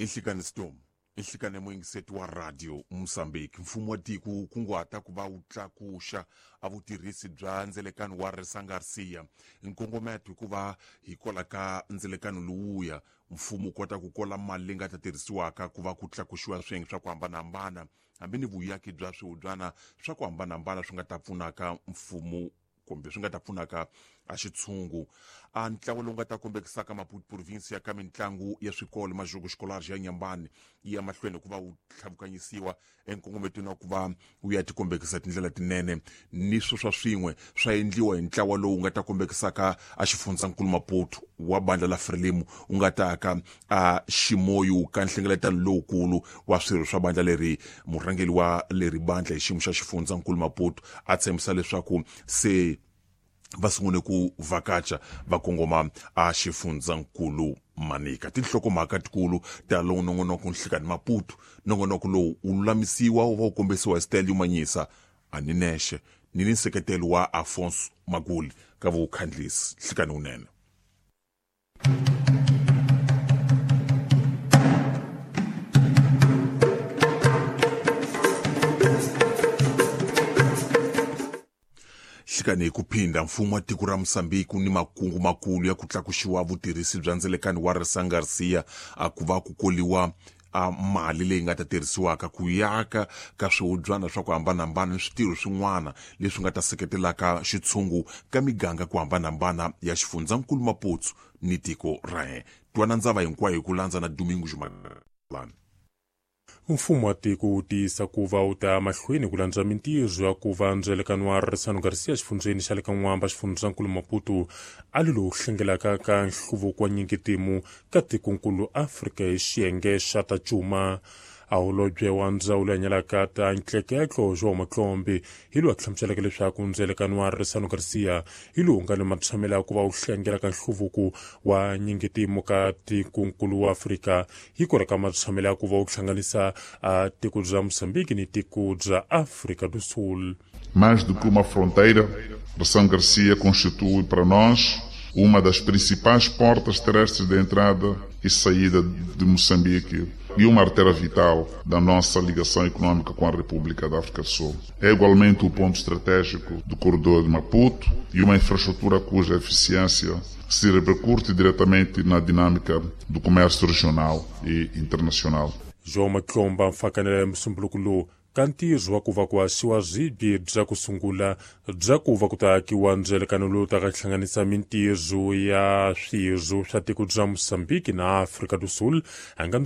Inhlikani Storm inhlikani muyingiseti wa radio Mozambique. Mfumo wa tiko wu kunguhata ku va wu tlakuxa a vutirhisi bya ndzelekano wa Resa Garcia. Nkongometo hikuva hikwalaho ka ndzelekano lowuya mfumo wu kota ku kola mali leyi nga ta tirhisiwaka ku va ku tlakuxiwa swiyenge swa ku hambanahambana, hambi ni vuyaki bya swihubyana swa ku hambanahambana swi nga ta pfunaka mfumo kumbe swi nga ta pfunaka a xitshungu. A ntlawa lowu nga ta kombekisaka Maputo province ya ka mitlangu ya swikolo Majuku Xikolari ya Nyambani yi ya mahlweni ku va wu tlhavukanyisiwa enkongometweni wa ku va wu ya tikombekisa tindlela tinene ni swo swa swin'we swa endliwa hi ntlawa lowu nga ta kombekisaka a xifundzankulu Maputo wa bandla la Frelimo wu nga ta ka a Ximoyu ka nhlengeletano lowukulu wa swirho swa bandla leri. Murhangeri wa leri bandla hi xiyimo xa xifundzankulu Maputo a tshembisa leswaku se va sungule ku vhakacha va kongoma a xifundzankulu Manika. Tinhlokomhaka tikulu ta lowu nongonoko Nhlikani Maputo. Nongonoko lowu wu lulamisiwa wu va wu kombisiwa hi Stelio Manyisa a ni nexe ni ni nseketelo wa Afonso Maguli ka vukhandlisi. Nhlikani wunene. Hlikani hi ku phinda, mfumo wa tiko ra Mozambique ni makungu makulu ya ku tlakuxiwa vutirhisi bya ndzelekano wa Resa Garcia a ku va ku koliwa a mali leyi nga ta tirhisiwaka ku yaka ka swihubyana swa ku hambanahambana ni switirho swin'wana leswi nga ta seketelaka xitshungu ka miganga ku hambanahambana ya xifundzankulu Maputo ni tiko ra hina. Twana ndzava hinkwayo hi ku landza na Domingo Jumalani. Mfumo wa tiko wu tiyisa ku va wu ta mahlweni ku landza mintirho ya ku va ndzelekano wa Ressano Garcia xifundzeni xa le ka N'wamba xifundzankulu Maputo a li lowu hlengelaka ka nhluvuko wa nyingitimu ka tikonkulu Afrika hi xiyenge xa ta cuma. A holobye wa ndzawulo ya nyalaka ta ntleketlo João Matlombe hi lowu a hlamuseleke leswaku ndzelekano wa Ressano Garcia hi lowu nga ni matshamelo ya ku va wu hlengela ka nhluvuko wa nyingitimu ka tikonkulu wa Afrika hi ku ka matshamelo ya ku va wu hlanganisa a tiko bya Mozambique ni tiko bya Afrika do Sul. Mais do que uma fronteira, Ressano Garcia constitui para nós uma das principais portas terrestres de entrada e saída de Moçambique e uma artéria vital da nossa ligação econômica com a República da África do Sul. É igualmente o ponto estratégico do corredor de Maputo e uma infraestrutura cuja eficiência se repercute diretamente na dinâmica do comércio regional e internacional. João Matlomba mfakanela musumbuluko lowu ka ntirho wa ku va ku haxiwa swibye bya ku sungula bya ku va ku ta akiwa ndzelekano lowu taka hlanganisa mintirho ya swirho swa tiko bya Mozambique na Afrika do Sul a nga